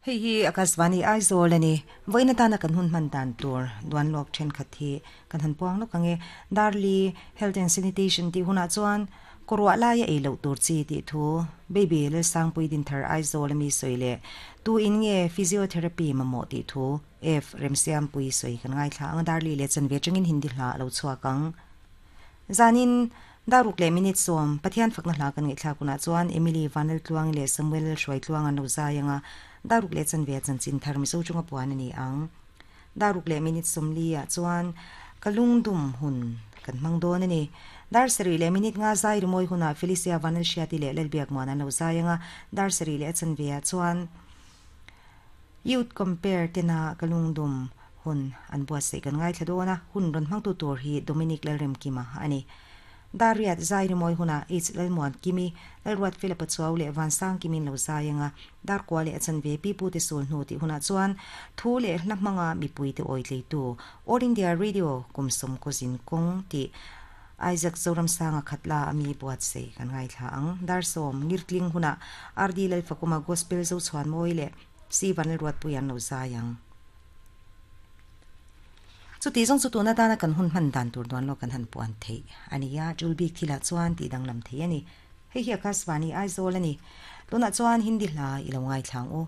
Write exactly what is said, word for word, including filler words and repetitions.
Hei hi Akashvani Aizawl ani. Vawiin atana kan hun hman dan tur duan lawk thenkhat hi kan han puang lawk ang e. Darli Health and Sanitation tih hunah chuan kawruah laia ei loh tur chi tih thu Baby Lalsangpui Dinthar Aizawl ami sawi leh tu in nge Physiotherapy mamawh tih thu F Remsiampui sawi kan ngaithla ang a, Darli leh chanve atangin Hindi hla a lo chhuak ang. Zanin Daruk leh minute sawm Pathian fakna hla kan ngaihthlak hunah chuan Emily Vanlaltluangi leh Samuel Hruaitluang an lo zai ang a, Daruk leh chanve a chanchin thar Mizo chunga puan a ni ang. Daruk leh minute sawmli ah chuan ka lungdum hun kan hmang dawn a ni. Dar sarih leh minute nga zai rimawi hunah Felicia Vanlalhriati leh Lalbiakmuan an lo zai ang a, dar sarih leh a chanve ah chuan Youth Compare tena ka lungdum hun an buatsaih kan ngaithla dawn a, hun rawn hmangtu tur hi Dominic Lalremkima a ni. Dariat zai rimawi hunah H Lalmuan Kimi, Lalruat Fela Pachuau leh Vansang Kimin lo zai anga Darkua leh a chanve Pi Pute Sul hnu tih hunah chuan thu leh hla hmanga mipuite awi tleitu All India Radio kum sawm kawzin kawng tih Isaac Zoramsanga khatla ami buatsaih kan ngaithla ang. Dar sawm ngirtling hunah R D Lalfakuma Gospel Zochhuan Mawi leh C Vanlalruatpui an lo zai ang. Chuti zawng chu tuna tana kan hun hman dan tur dawn lo kan han puan theih a ni a, tul bik thilah chuan tih danglam thei a ni. Hei hi Akashvani Aizawl a ni. Tunah chuan Hindi hla i lo ngaithla ang u.